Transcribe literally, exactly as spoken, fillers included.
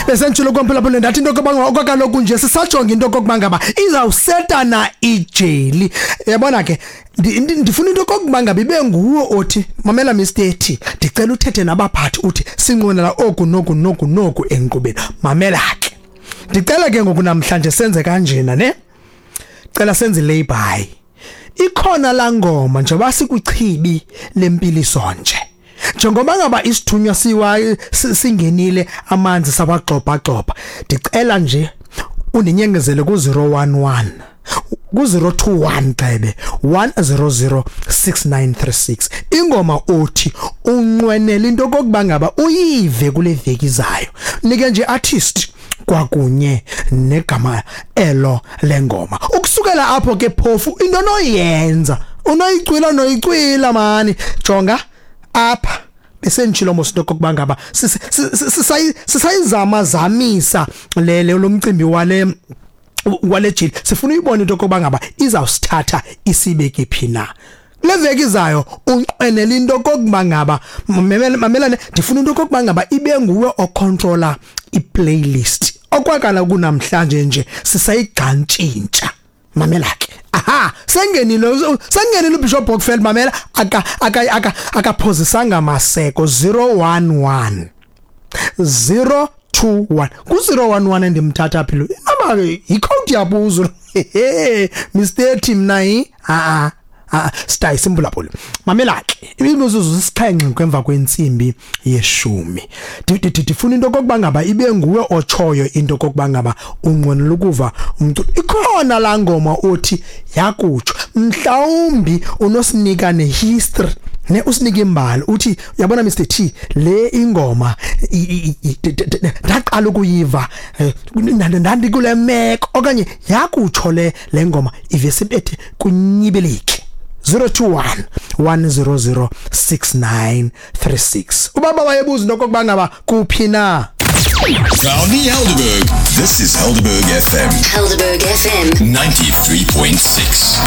Besentshilo kwamphulaphula, ndathi into yokokuba okwakaloku nje sisajonga into yokokuba ngaba izawusetana ijeli. Yabona ke, ndi- ndi- ndifuna into yokokuba ngaba ibe nguwe othi, "Mamela, Mister T, ndicela uthethe nabaphathi, uthi sinqwenela oku noku noku noku enkqubeni." Mamela ke, ndicela ke ngoku namhlanje senze kanjena ne, cela senze lay-by. Ikhona laa ngoma, njengoba sikwichibi lempiliso nje, njengoba ngaba isithunywa siwa si- singenile, amanzi sawagxobha-gxobha, ndicela nje undinyengezele ku-zero one one, ku-zero two one gxebe one zero zero six nine three six, ingoma othi unqwenela into okokuba ngaba uyive kule veki izayo. Nike nje artist kwakunye negama elo lengoma. Ukusukela apho ke phofu into noyenza unoyicwila, noyicwila mani. Jonga apha, besenditshilo mos into okokuba ngaba sisayizama zamisa le le lo mcimbi wale wale jili. Sifuna uyibona into okokuba ngaba izawusithatha isibeke phi na kule veki izayo. Unqwenela into okokuba ngaba, mamelane, ndifuna into okokuba ngaba ibe nguwe ocontrola iplaylist. Okwakala kunamhlanje nje sisayigqantshintsha. Mamela ke, aha, sengenile, sengenile uBishop Bockfeld. Mamela, aka aka aka akaphozisanga maseko. zero one one zero two one, ku zero one one endimthatha phi lo? Inaba ke yicode yabuzo, Mister T. Mna yi a a stay simphulaphula. Mamela ke, imizuzu sixhenxe kwemva kwentsimbi yeshumi. Ndifuna into okokuba ngaba ibe nguwe otshoyo into okokuba ngaba unqwenela ukuva umculo. Ikhona laa ngoma othi yakutsho, mhlawumbi unosinika nehistory ne, usinike imbali, uthi, "Uyabona, Mister T, le ingoma ndaqala ukuyiva eh, ndandikule meko," okanye yakutsho le le ngoma ivese ibethe kunyibilike. zero two one one zero zero six nine three six. Ubaba wayebuza into okokuba ngaba kuphi na. Proudly Helderberg. This is Helderberg F M. Helderberg F M. ninety-three point six.